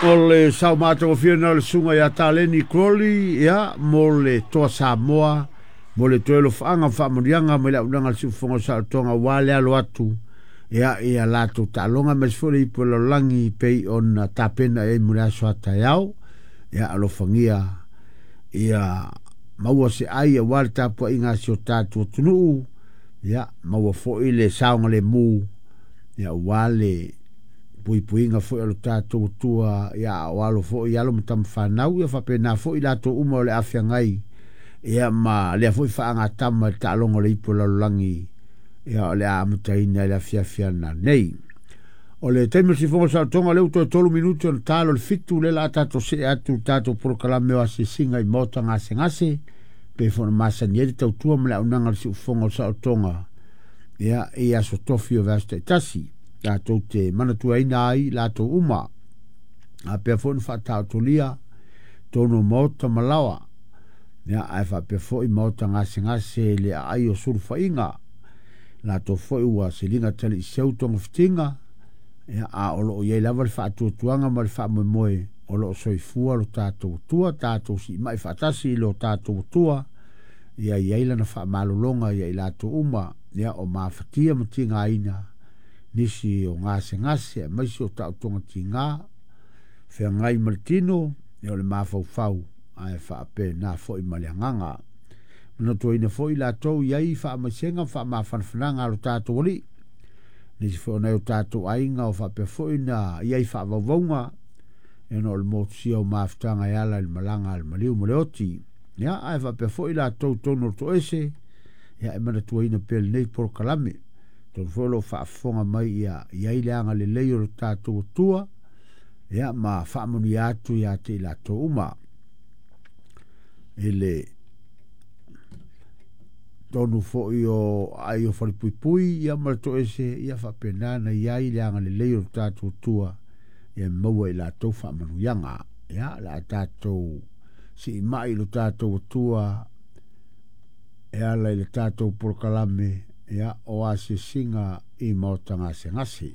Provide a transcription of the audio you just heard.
O le sao matagofie lena o le susuga ia Taleni Crowley, ia, mo le Toa Samoa, mo le toe alofaaga ma faamanuiaga mai le auaunaga a le Siufofoga o Saolotoga aua le alo atu, ia, i a latou taaloga aemaise foi le ipu o le lalolagi pei ona tapena i ai mo le aso a taeao. Ia, alofagia ia maua se ai aua le tapuaiga a si o tatou atunuu, ia, maua foi le saogalemu, ia, aua le puipuiga foi a lo tatou Atua, ia a o alo foi alo ma tama fanau, ia faapena foi latou uma o le a feagai, ia ma lea foi faagatama i le taaloga o le ipu o le lalolagi, ia o le a amataina i le afiafi ananei. O le taimi o le sifoga o le saolotoga, o lea ua toe 3 minute ona talo le 7, lea la a tatou see atu i le tatou polokalame o asiasiga i maota gasegase, pei foi ona masani ai le tautua ma le auaunaga a le siufofoga o le saolotoga, ia, i aso tofi o vaiaso taitasi. Tatou te manatuaina ai i latou uma. A pea foi ona faataotolia tonu o maota ma laoa, ia, ae faapea foi maota gasegase i le aai o sulufaiga. Latou foi ua siliga taliiseu togafitiga, ia, a o loo i ai lava le faatuatuaga ma le faamoemoe o loo soifua lo tatou Atua, tatou siimai faatasi i lo tatou Atua, ia i ai lana faamalologa ia i latou uma, ia, o mafatia ma tigaina nisi o gasegase aemaise o taotoga tiga, feagai ma le tino, ia o le mafaufau, ae faapena foi ma le agaga. Manatuaina foi latou i ai faamaisega ma faamafanafanaga a lo tatou Alii, nisi foi o nai o tatou aiga o faapea foi na i ai faavauvauga, ona o le motusia o mafutaga e ala i le malaga a le maliu ma le oti. Ia, ae faapea foi latou tonu o le toese, ia e manatuaina pea lenei polokalame. Tonu foi o lo o faafofoga mai ia i ai le agalelei o lo tatou Atua, ia ma faamanuia atu ia te i latou uma. I le tonu foi o ai o Falepuipui ia ma le toese, ia faapena na i ai le agalelei o lo tatou Atua, ia maua i latou faamanuiaga. Ia, o le a tatou siimai i lo tatou Atua e ala i le tatou polokalame, ia, o asiasiga i maota gasegase.